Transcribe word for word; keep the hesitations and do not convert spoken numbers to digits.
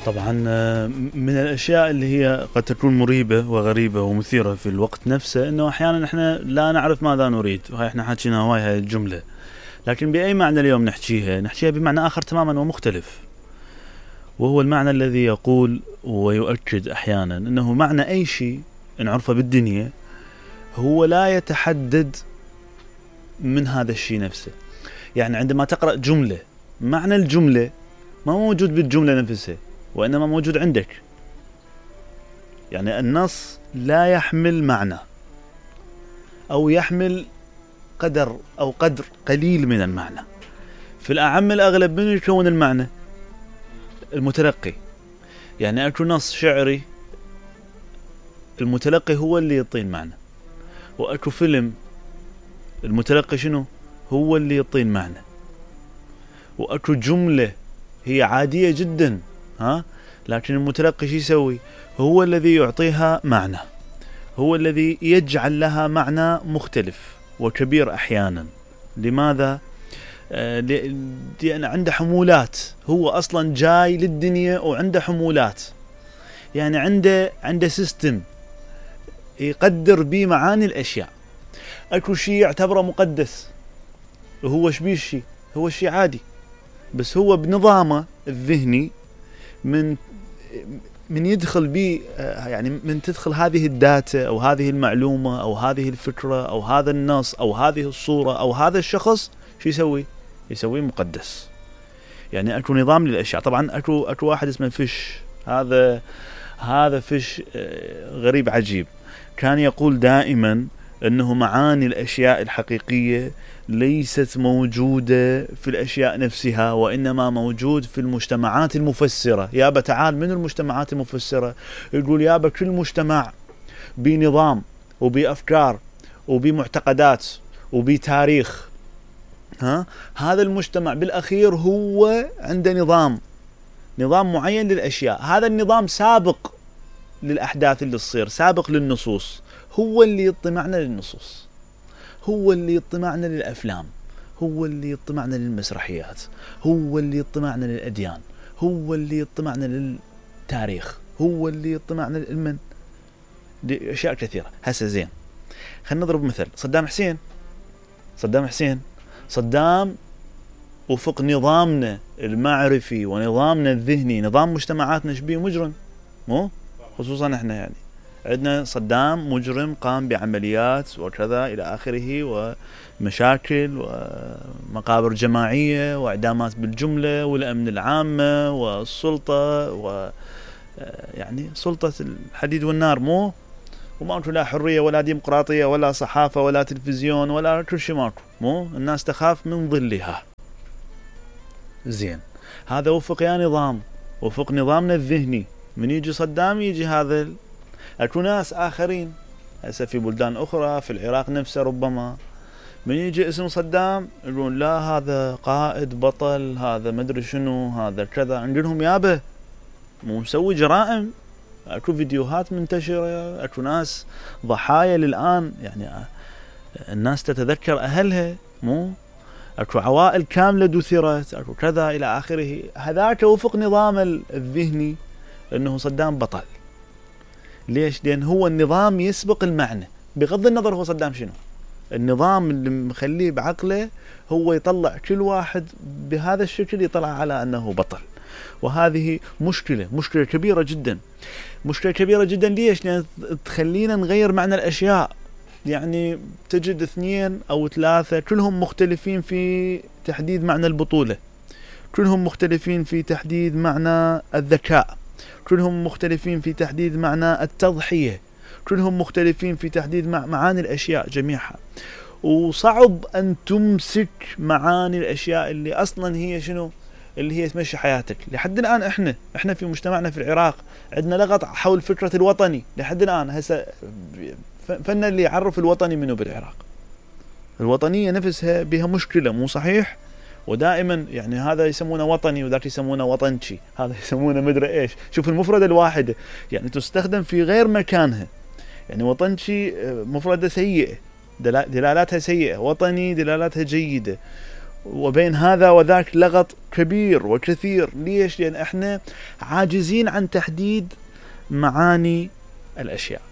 طبعا من الأشياء اللي هي قد تكون مريبة وغريبة ومثيرة في الوقت نفسه أنه أحيانا إحنا لا نعرف ماذا نريد، وهي إحنا حكينا هواي هاي الجملة، لكن بأي معنى اليوم نحكيها نحكيها بمعنى آخر تماما ومختلف، وهو المعنى الذي يقول ويؤكد أحيانا أنه معنى أي شيء نعرفه بالدنيا هو لا يتحدد من هذا الشيء نفسه. يعني عندما تقرأ جملة معنى الجملة ما موجود بالجملة نفسها، وإنما موجود عندك. يعني النص لا يحمل معنى أو يحمل قدر أو قدر قليل من المعنى. في الأعم الأغلب من يكون المعنى؟ المتلقي. يعني أكو نص شعري المتلقي هو اللي يعطي المعنى، وأكو فيلم المتلقي شنو؟ هو اللي يعطي المعنى، وأكو جملة هي عادية جدا ها، لكن المتلقي شو يسوي؟ هو الذي يعطيها معنى، هو الذي يجعل لها معنى مختلف وكبير أحيانا. لماذا؟ آه لأن عنده حمولات، هو أصلا جاي للدنيا وعنده حمولات، يعني عنده عنده سيستم يقدر بيه معاني الأشياء. أكو شيء يعتبره مقدس وهو شبيه الشيء؟ هو شيء عادي، بس هو بنظامه الذهني من من يدخل بيه، يعني من تدخل هذه الداتا أو هذه المعلومة أو هذه الفكرة أو هذا النص أو هذه الصورة أو هذا الشخص، شو يسوي؟ يسوي مقدس. يعني أكو نظام للأشياء. طبعا أكو أكو واحد اسمه فيش، هذا هذا فيش غريب عجيب، كان يقول دائما أنه معاني الأشياء الحقيقية ليست موجودة في الأشياء نفسها، وإنما موجود في المجتمعات المفسرة. يابا تعال من المجتمعات المفسرة؟ يقول يابا كل مجتمع بنظام وبأفكار وبمعتقدات وبتاريخ، ها؟ هذا المجتمع بالأخير هو عنده نظام نظام معين للأشياء، هذا النظام سابق للأحداث اللي تصير، سابق للنصوص، هو اللي يطمعنا للنصوص، هو اللي يطمعنا للأفلام، هو اللي يطمعنا للمسرحيات، هو اللي يطمعنا للأديان، هو اللي يطمعنا للتاريخ، هو اللي يطمعنا للمن لأشياء كثيرة. هسه زين، خلينا نضرب مثل صدام حسين. صدام حسين صدام وفق نظامنا المعرفي ونظامنا الذهني، نظام مجتمعاتنا شبيه مجرم، مو خصوصا احنا يعني عندنا صدام مجرم قام بعمليات وكذا إلى آخره، ومشاكل ومقابر جماعية وإعدامات بالجملة، والأمن العامة والسلطة و يعني سلطة الحديد والنار، مو وماكو لا حرية ولا ديمقراطية ولا صحافة ولا تلفزيون ولا كل شيء ماكو، مو الناس تخاف من ظلها. زين، هذا وفق يا نظام، وفق نظامنا الذهني. من يجي صدام يجي هذا ال... أكو ناس آخرين هسه في بلدان أخرى في العراق نفسه ربما من يجي اسم صدام يقولون لا هذا قائد بطل، هذا مدري شنو، هذا كذا. نقولهم يابا مو مسوي جرائم، أكو فيديوهات منتشرة، أكو ناس ضحايا للآن، يعني الناس تتذكر أهلها، مو أكو عوائل كاملة دثرت، أكو كذا إلى آخره. هذاك وفق نظام الذهني أنه صدام بطل. ليش؟ لأن هو النظام يسبق المعنى، بغض النظر هو صدام شنو، النظام اللي مخليه بعقله هو يطلع كل واحد بهذا الشكل، يطلع على أنه بطل. وهذه مشكلة مشكلة كبيرة جدا، مشكلة كبيرة جدا. ليش؟ لأن تخلينا نغير معنى الأشياء. يعني تجد اثنين أو ثلاثة كلهم مختلفين في تحديد معنى البطولة، كلهم مختلفين في تحديد معنى الذكاء، كلهم مختلفين في تحديد معنى التضحية، كلهم مختلفين في تحديد معاني الأشياء جميعها. وصعب أن تمسك معاني الأشياء اللي أصلا هي شنو، اللي هي تمشي حياتك. لحد الآن إحنا إحنا في مجتمعنا في العراق عندنا لغط حول فكرة الوطني لحد الآن. هسه فن اللي يعرف الوطني منه بالعراق، الوطنية نفسها بها مشكلة، مو صحيح؟ ودائما يعني هذا يسمونه وطني وذاك يسمونه وطنشي، هذا يسمونه مدري ايش. شوف المفردة الواحدة يعني تستخدم في غير مكانها. يعني وطنشي مفردة سيئة، دلالاتها سيئة، وطني دلالاتها جيدة. وبين هذا وذاك لغط كبير وكثير. ليش؟ لأن احنا عاجزين عن تحديد معاني الأشياء.